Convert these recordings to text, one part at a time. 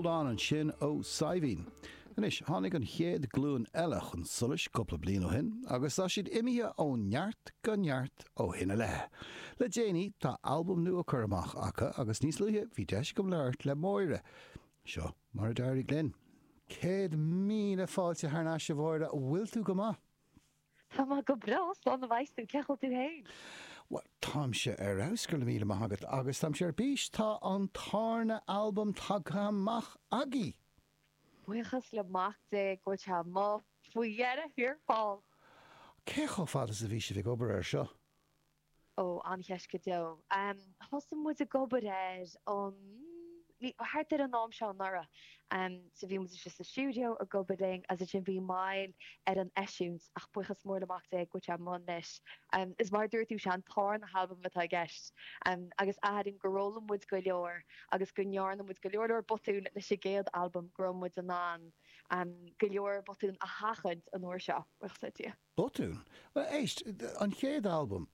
Hold On ansin ó Saidhbhín. Anois, tháinig an chéad ghlúin eile chun solais cúpla bliain ó shin agus tá siad imithe ó neart go neart ó shin i leith. Le déanaí, tá albam nua curtha amach acu agus níos luaithe bhí deis agam labhairt le Máire. Seo mar a d'éirigh linn. 100,000 fáilte thar n-ais a Mháire, bhfuil tú go maith? Tá mé go breá, slán a bheas tú, cén chaoi a bhfuil tú féin? Bhuel, táimse ar fheabhas, go raibh míle maith agat, agus táimse ar bís, tá an tarna albam tagtha amach agaibh! Buíochas le Mac Dé go bhfuil sé amuigh faoi dheireadh thiar thall! Cé chomh fada is a bhí sibh ag obair air seo? Ó, an-cheist go deo. Thosaigh muid ag obair air an, thart ar an am seo anuraidh. So bhí muid istigh sa stiúideo ag obair linn agus ansin bhí moill ar an eisiúint ach buíochas mór le Mac Dé go bhfuil sé amuigh anois. Is mar a dúirt tú, sé an tarna halbam atá i gceist agus airím gur fhoghlaim muid go leor agus go ndearna muid go leor leor botún leis an gcéad albam go raibh muid in ann go leor botún a sheachaint an uair seo, buíochas le Dia. Botún? Bhuel, éist, an chéad albam,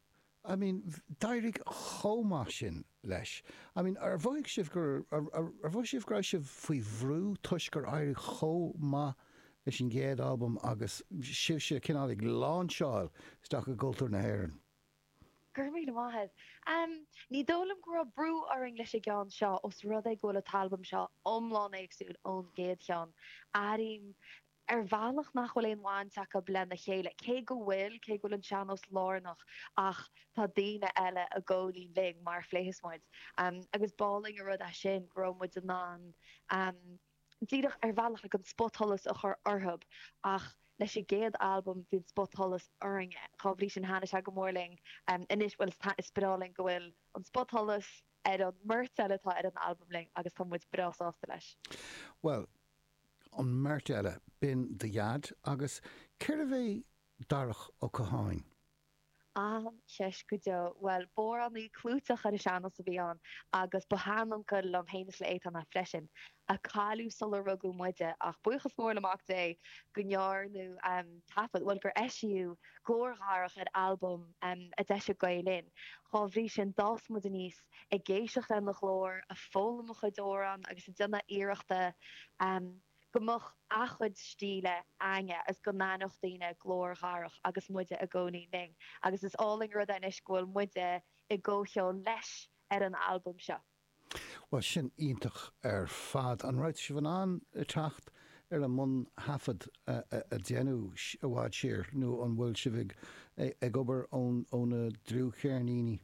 I mean, d'éirigh chomh maith sin leis. I mean, ar mhothaigh sibh gur, ar mhothaigh sibh go raibh sibh faoi bhrú toisc gur éirigh chomh maith leis an gcéad albam agus sibhse cineál ag láinseáil isteach i gcultúr na hÉireann? Go raibh míle maith agat. Ní dóigh liom go raibh brú orainn leis an gceann seo os rud é go bhfuil an t-albam seo iomlán éagsúil ón gcéad cheann. Airím ar bhealach nach bhfuil aon bhaint acu lena chéile, cé go bhfuil, cé go bhfuil an sean-nós lárnach ach tá daoine eile i gcónaí linn mar a phléifeas muid. Agus b'álainn an rud é sin go raibh muid in ann díreach ar bhealach like an spotsholas a chur orthu ach leis an gcéad albam bhí an spotsholas orainne, dhá bhrí sin thaitnigh sé go mór linn anois, bhuel is breá linn go bhfuil an spotsholas ar an mbeirt eile atá ar an albam linn agus tá muid breá sásta leis. Bhuel, an mbeirt eile, b'in do dhaid agus cérbh é Darach Ó Catháin? An-cheist go deo. Bhuel, b'amhránaí clúiteach ar an sean-nós a bhí ann agus ba sheanuncail liom féin is le Étáin é freisin, a cailleadh sular rugadh muide ach buíochas mór le Mac Dé go ndearnadh taifead, bhuel gur eisíodh glór Dharach ar albam a d'eisigh Gael Linn. Dhá bhrí sin d'fhás muid aníos ag éisteacht lena ghlór, ag foghlaim a chuid amhrán agus ag déanamh iarrachta go mbeadh a chuid stíle againne agus go n-aithneodh daoine glór Dharach agus muide i gcónaí linn. Agus is álainn an rud é anois go bhfuil muide i gcomhcheol leis ar an albam seo. Bhuel, sin iontach ar fad. An raibh sibh in ann teacht ar an mbun-thaifead a deineadh i bhfad siar nó an bhfuil sibh ag obair ó na dlúthcheirníní?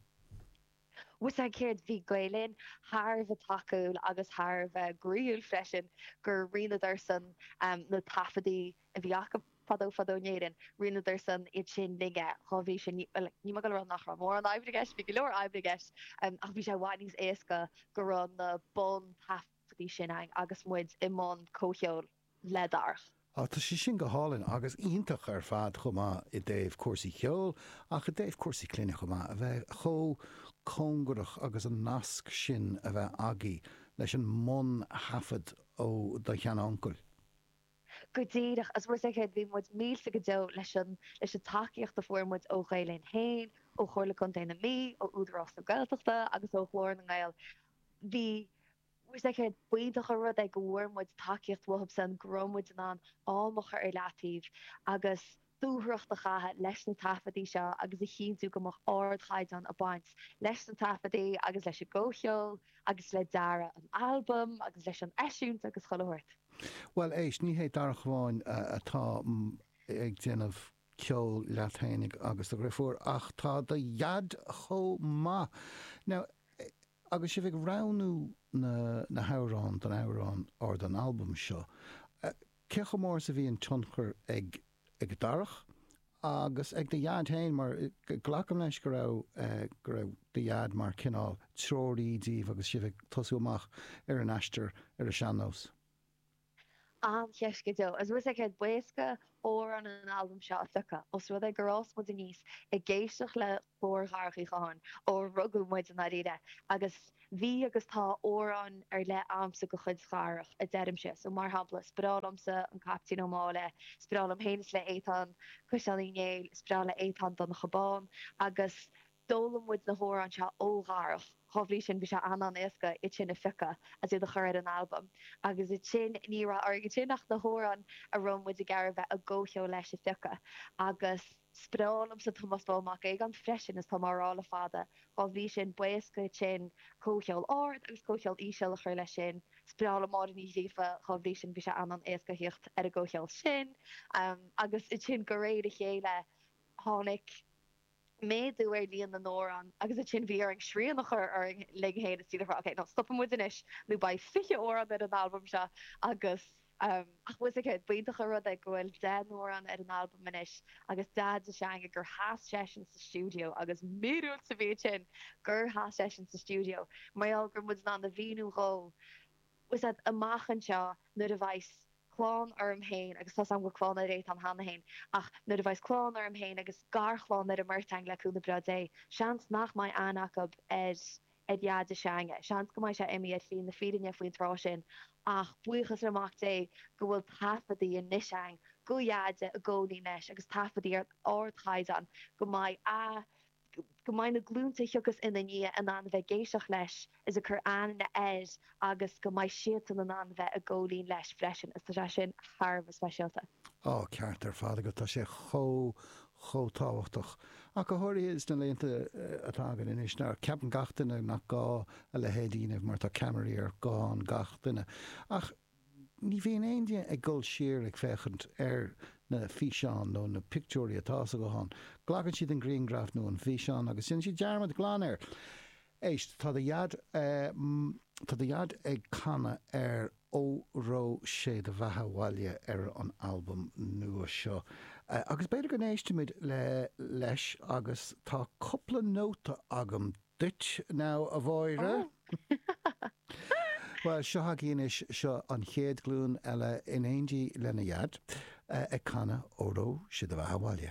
Bhfuil 's a'd céard, bhí Gael Linn thar a bheith tacúil agus thar a bheith groíúil freisin gur roinneadarsan na taifeadaí a bhí acu fadó fadó in Éirinn, roinneadarsan iad sin linne, dhá bhrí sin, bhuel, níl mé ag dul a rá nach raibh mórán oibre i gceist, bhí go leor oibre i gceist, ach bhí sé i bhfad níos éasca go raibh na bun-taifeadaí sin againn agus muid i mbun comhcheoil. le Darach. Á, tá sé sin go hálainn agus iontach ar fad chomh maith i dtaobh cúrsaí ceoil ach i dtaobh cúrsaí clainne chomh maith, a bheith chomh cóngarach agus an nasc sin a bheith agaibh leis an mbun-thaifead ó do sheanuncail. Go díreach, agus bhfuil 's a'd céard, bhí muid millte go deo leis an, leis an tacaíocht a fuair muid ó Ghael Linn féin, ó Chomhairle Contae na Mí, ó Údarás na Gaeltachta agus ó Ghlór na nGael. Bhí. Bhfuil 's a'd céard, b'iontach an rud é go bhfuair muid tacaíocht uathubsan, go raibh muid in ann am a chur ar leataobh agus dúthracht a chaitheamh leis na taifeadaí seo agus a chinntiú go mbeadh ardchaighdeán ag baint leis na taifeadaí agus leis an gcomhcheol agus le dearadh an albaim agus leis an eisiúint agus chuile shórt. Bhuel, éist, ní hé Darach amháin atá ag déanamh ceoil leat fhéinig agus do dhriofúr ach tá do dhaid chomh maith. Now, Agus sibh ag roghnú na na hamhráin don amhrán or don albam seo, cé chomh mór is a bhí an tionchar ag ag Darach agus ag do dhaid féin mar glacaim leis go raibh go raibh do dhaid mar cineál treoraí díbh agus sibh ag tosú amach ar an aistear ar an sean-nós? An-cheist go deo. Agus bhfuil 's a'd céard, b'éasca amhráin an albaim seo a phiocadh, os rud é gur fhás muid aníos ag éisteacht le glór Dharach Uí Chatháin ó rugadh muid i ndáiríre, agus bhí agus tá amhráin ar leith a'msa de chuid Dharach, a deirimse. So, mar shampla, is breá liomsa An Caiptín Ó Máille, is breá liom féin is le Étáin Cuisleán Uí Néill, is breá le Étáin Donncha Bán, agus D'fhoghlaim muid na hamhráin seo ó Dharach. Dhá bhrí sin bhí sé an-an-éasca iad sin a phiocadh agus iad a chur ar an albam. Agus ansin ní raibh orainn ansin ach na hamhráin a raibh muid ag iarraidh bheith i gcomhcheol leis a phiocadh. Agus is breá liomsa Tomás Bán Mac Aogáin freisin is tá mé á rá le fada. Dhá bhrí sin b'éasca ansin comhcheol ard agus comhcheol íseal a chur leis sin. Is breá liom Máire Ní Ghríofa, dhá bhrí sin bhí sé an-an-éasca theacht ar an gcomhcheol sin. Agus ansin de réir a chéile tháinig méadú ar líon na n-amhrán agus ansin bhí orainn srian a chur orainn linn féin is iad a rá ok no stopfaidh muid anois nó beidh 20 amhrán ar an albam seo agus ach bhfuil fhios agat b'iontach an rud é go bhfuil 10 n-amhrán ar an albam anois agus Deaide s'againne gur sheas seisean sa stiúideo agus míorúilt a bhí ansin gur sheas seisean sa stiúideo mar gheall go raibh muid in ann a mhíniú dhó bhfuil fhios agat amach anseo nuair a bheas clann orm féin, agus tá's agam go bhfuil clann ar Étáin cheana féin, ach nuair a bheas clann orm féin agus garchlann ar an mbeirt againn le cúnamh breá Dé, seans nach mbeidh aithne acu ar ar Dheaide s'againne. Seans go mbeidh sé imithe ar shlí na fírinne faoin tráth sin, ach buíochas le Mac Dé go bhfuil taifeadaí anois againn go Dheaide i gcónaí leis agus taifeadaí ar ardchaighdeán go mbeidh a go mbeidh na glúnta a thiocfas ina ndiaidh in ann a bheith ag éisteacht leis is ag cur aithne air agus go mbeidh siadsan in ann a bheith i gcomhlíon leis freisin is tá sé sin thar a bheith speisialta. Á, ceart ar fad agat, tá sé chomh, chomh tábhachtach. Ach go háirithe sna laethanta atá againn anois, nuair ceapann gach duine nach gá a leithéid a dhéanamh mar tá ceamaraí ar ghuthán gach duine. Ach Ní bhíonn aon duine ag dul siar ag féachaint ar na físeáin nó na pictiúirí atá sa ghuthán. Glacann siad an grianghraf nó an físeán agus déanann siad dearmad glan air. Éist, tá do dhaid, tá do dhaid ag canadh ar Óró Sé Do Bheatha 'Bhaile ar an albam nua seo. Agus b'fhéidir go n-éistfimid le leis agus tá cúpla nóta agam duit now, a Mháire. Bhuel, seo agaibh anois, seo an chéad ghlúin eile in éindí lena dhaid ag canadh Óró Sé Do Bheatha 'Bhaile.